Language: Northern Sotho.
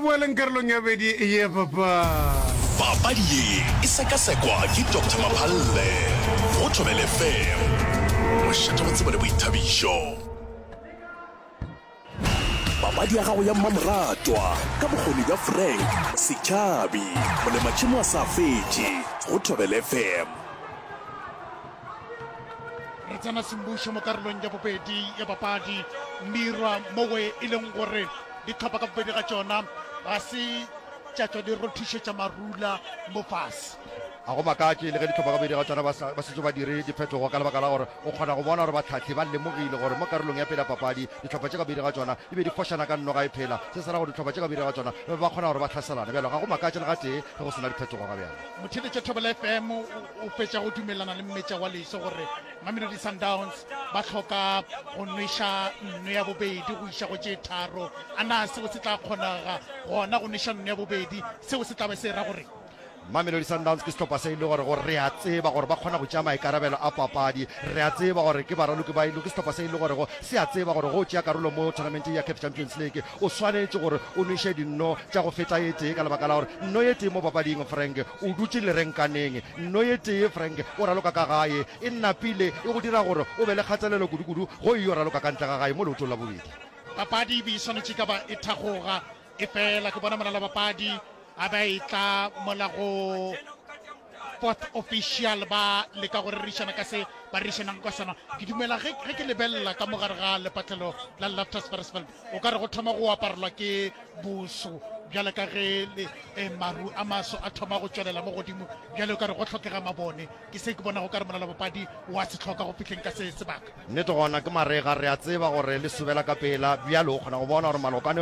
boeleng karolong ya bedi ye papadi. Papadi ye e sekasekwa ke Doctor Maphalle go Thobela FM, mošate wa tsebo le boithabišo. Papadi ya gago ya mmamoratwa ka bokgoni bja Frank Setšhabi, molematšhemo a sa fetše go Thobela FM. Re tsena semmušo mo karolong ya bobedi ya papadi Mirwa mowe e leng gore dihlopha ka bobedi ga tšona ga se tša tšwa di rothišetša marula mo fase. Ga go makatše le ge dihlopha ka bobedi ga tšona ba sa ba setse ba dire diphetogo ka lebaka la gore o kgona go bona gore bahlahli ba lemogile gore mo karolong ya pele ya papadi dihlopha tše ka bobedi ga tšona di be di fošana ka nno ga e phela. Se se ra gore dihlopha tše ka bobedi ga tšona ba be ba kgona gore ba hlaselane. Bjalo ga go makatše le gatee ge go se na diphetogo ga bjale. Motheeletši wa Thobela FM o fetša go dumelelana le mmetša wa leso gore Mamelodi Sundowns ba hloka go nweša nno ya bobedi go iša go tše tharo. A na seo se tla kgonega gona go nweša nno ya bobedi? Seo se tla be se ra gore Mamelodi Sundowns ke sehlopha se e le gore gore re a tseba gore ba kgona go tšea maikarabelo a papadi. Re a tseba gore ke baraloki ba e ke sehlopha se e le gorego se a tseba gore go tšea karolo mo tournamenteng ya CAF Champions League o swanetše gore o nweše dinno tša go feta e tee ka lebaka la gore nno ye tee mo papading Frank o dutše lerenkaneng nno ye tee Frank o raloka ka gae e napile e go dira gore o be le kgatelelo kudu-kudu go e yo raloka ka ntle ga gae mo leotong la bobedi. Papadi e be e swanetše ka ba e thagoga Efela ke bona molalabapadi a be a etla mola go fourth official ba leka go rerišana ka se ba rerišanang ka sona. Ke dumela ge ge ke lebelela ka mo gare ga lepatlelo la Loftus Versfeld o ka re go thoma go aparelwa ke boso bjale ka ge le, eh, maru a maso a thoma go tšwelela mo godimo bjale o ka re go hlokega mabone. Ke se ke bonago ka re molalabapadi wa se hloka go fihleng ka se sebaka. Nnete gona ke marega, re a tseba gore le sobela ka pela. Bjalo o kgona go bona gore malokwane.